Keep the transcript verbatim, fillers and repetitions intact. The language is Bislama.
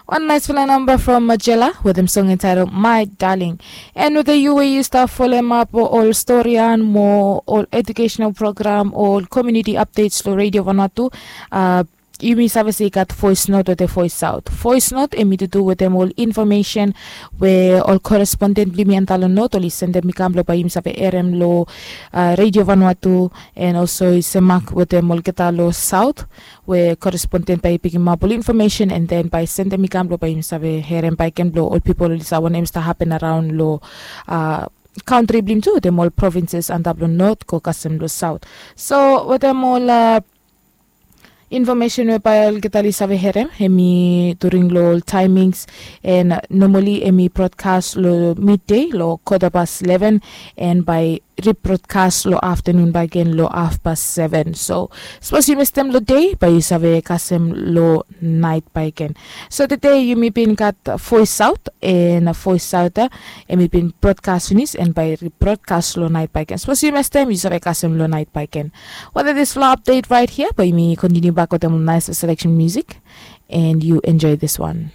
Wan naisfala namba from Majela wetem song entitled My Darling. And whether yu we yu stap folem ap ol storian mo ol educational program o ol community updates lo Radio Vanuatu, uh, yumi save se i gat voice note wetem voice out. Voice note em i tutu wetem ol information we ol correspondent blong yumi antap lo note oli sendem i kam blo bae yumi save herem lo uh, Radio Vanuatu, and also i semak wetem olgeta lo south we correspondent bae i pikimap ol information and then bae sendem i kam blo bae yumi save herem baeken blo ol pipol oli save wanem i stap hapen araon lo uh, country blong yumi tu wetem ol provinces antap lo north go kasem lo south. So wetem ol uh, information we bae olgeta oli save herem em i during lo ol timings, and normally em i broadcast lo midday lo quarter past eleven, and bae rebroadcast lo afternoon baeken lo half past seven. So sapos yu mistem lo day bae yu save kasem lo night baeken. So tede yumi bin gat voice out, and voice out uh, em i bin broadcast finis and bae rebroadcast lo night baeken. Sapos yu mistem yu save kasem lo night baeken. Whether this lo update right here bae yumi continue bak wetem ol nice selection music, and you enjoy this one.